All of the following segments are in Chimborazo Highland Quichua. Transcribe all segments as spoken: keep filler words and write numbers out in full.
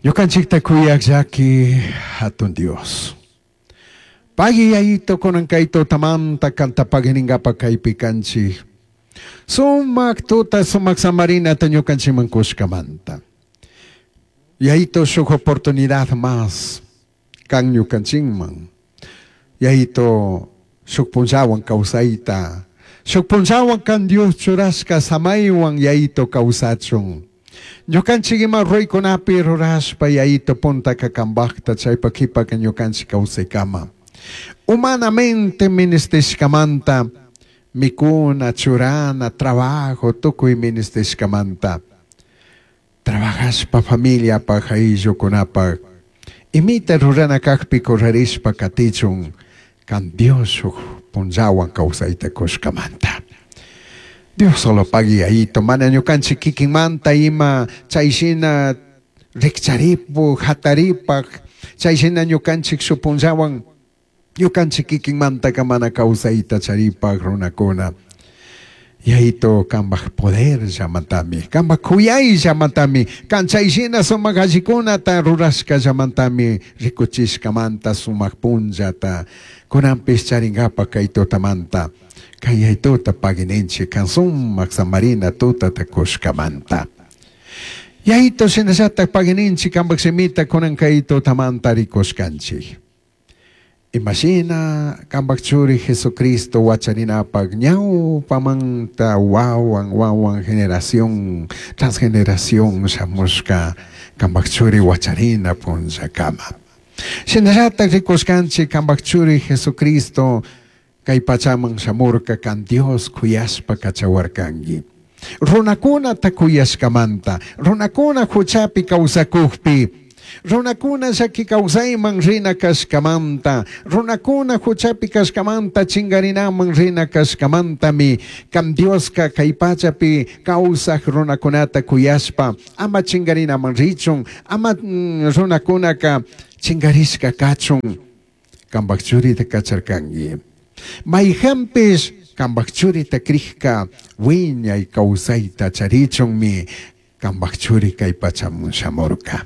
Ñukanchikta kuyaq llaki hatun Dios. Pagui Yayito kunan kay tutamanta kanta pagui kaypi kanchik. Sumak tuta sumak samarinata ñukanchikman kushkamanta. Yayito shuk oportunidad más kan ñukanchikman. Yayito shuk punllawan kawsayta. Shuk punllawan kan Dios churashka samaywan Yayito kawsachun. Ñukanchik ima ruraykunapi rurashpa Yayito puntaka kambakta chaypa qhipaka ñukanchik kawsaykama. Humanamente ministishkamanta mikuna, churana, trabajo, tukuy ministishkamanta. Trabajashpa familiapaj ayllukunapaj imita rurana kajpi kurarishpa katichun kan Dios shuk punllawan kawsayta kushkamanta. Dios solo pagui Yayito, mana ñukanchik kikinmanta ima chayshina rikcharipu, hataripaj, chayshina ñukanchik shuk punllawan ñukanchik kikinmantaka mana kawsayta charipaj runakuna. Yayito kambaj poder llamantami, kambaj kuyay llamantami, kan chayshina sumak allikunata rurashka llamantami rikuchishkamanta sumak punllata kunanpish charinkapak kay tutamanta. Kay Yayituta paguininchik kan sumak samarina tutata kushkamanta. Yayito shinallatak paguininchik kambaj shimita kunan kay tutamanta rikushkanchik. Imashina kambaj churi Jesucristo wacharinapak ñawpamanta wawan wawan generación tras generación shamushka kambaj churi wacharina punllakama. Shinallatak rikushkanchik kambaj churi Jesucristo kay pachaman shamurka kan Dios kuyashpa kachawarkanki. Runakunata kuyashkamanta, runakuna huchapi kawsakukpi, runakuna llaki kawsayman rina kashkamanta, runakuna huchapi kashkamanta chingarinaman rina kashkamantami kan Dioska kay pachapi kawsaq runakunata kuyashpa ama chingarinaman richun, ama mm, runakunaka chingarishka kachun kambaj churita kacharkanki. Mayhanpish kambaj churita krikka wiñay kawsayta charichunmi kambaj churi kay pachaman shamurka.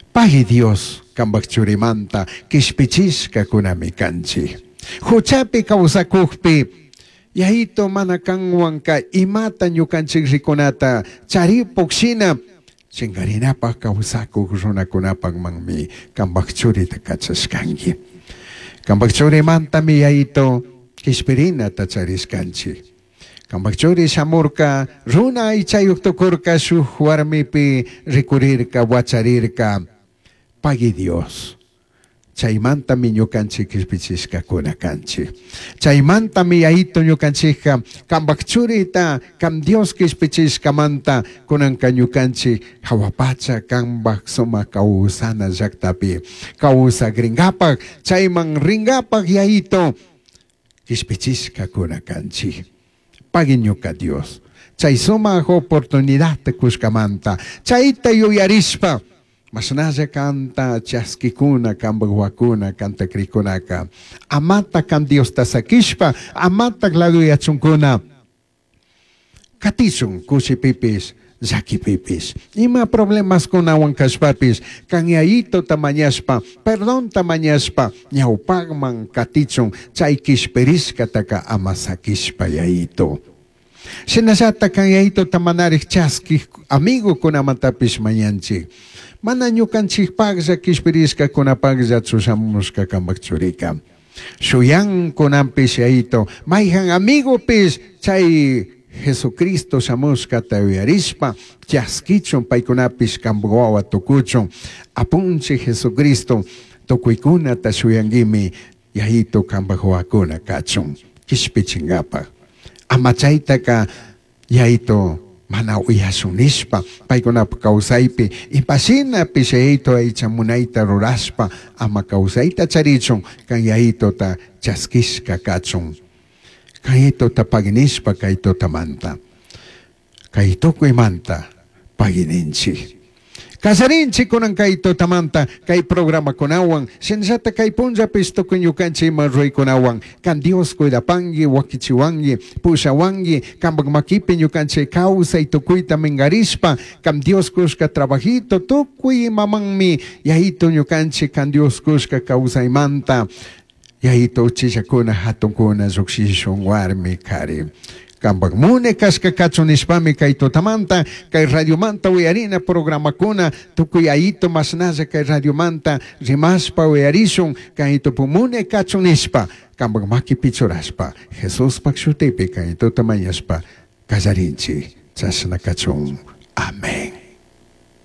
Pagui Dios kambaj churimanta kishpichishka kunami kanchik. Huchapi kawsakukpi Yayito mana kanwanka imata ñukanchik rikunata charipuk shina chingarinapaj kawsakuk runakunapakmanmi kambaj churita kachashkanki. Kambaj churimantami Yayito kishpirinata charishkanchik. Kambaj churi shamurka runa aychayuq tukurka shuk warmipi rikurirka wacharirka. Pagui Dios. Chaymantami ñukanchik kishpichishkakuna kanchik. Chaymantami Yayito ñukanchikka kambaj churita kam Dios kishpichishkamanta kunanka ñukanchik hawa pacha kambaj sumak kawsana llaktapi kawsakrinkapak chayman rinkapak Yayito kishpichishkakuna kanchik. Pagui ñuka Dios. Chay sumak oportunidad kushkamanta chayta yuyarishpa mashnalla kanta chaskikuna kambaj wawakuna kanta krikunaka amata kan Diosta sakishpa amata laduyachunkuna katichun kushipipis llakipipis ima problemaskunawan kashpapis kan Yayitota mañashpa perdonta mañashpa ñawpakman katichun chay kishpirishkataka ama sakishpa Yayito. Shinallatak kan Yayitota manarik chaskik amigukunamantapish mañanchik. Mana ñukanchikpaklla kishpirishkakunapakllachu shamushka kambaj churika. Shuyan kunanpish Yayito mayjan amigupish chay Jesucristo shamushkata uyarishpa chaskichun paykunapish kambaj wawa tukuchun. Apunchik Jesucristo tukuykunata shuyankimi Yayito kambaj wawakuna kachun kishpichinkapak. Ama chaytaka Yayito mana uyashun nishpa paykunapak kawsaypi imashinapish Yayito aycha munayta rurashpa ama kawsayta charichun kan Yayitota chaskishka kachun. Kan Yayitota paginishpa kay tutamanta kay tukuymanta pagininchik. Kallarinchik kunan kay tutamanta kay programakunawan shinallata kay punllapis tukuy ñukanchik ima ruraykunawan kan Dios cuidapanki wakichiwanki pushawanki kampak makipi ñukanchik kawsay tukuyta minkarishpa kan Dios kushka trabajito tukuy imamanmi Yayito ñukanchik kan Dios kushka kawsaymanta Yayito uchillakuna hatunkuna llukshishun warmi kari kampak mune kashka kachun nishpami kay tutamanta kay radiomanta uyarina programakuna tukuy Yayito mashnalla kay radiomanta rimashpa uyarishun kay mune kachun nishpa kampak makipi churashpa Jesuspak shutipi kay tuta mañashpa kallarinchik chashna kachun. Amén.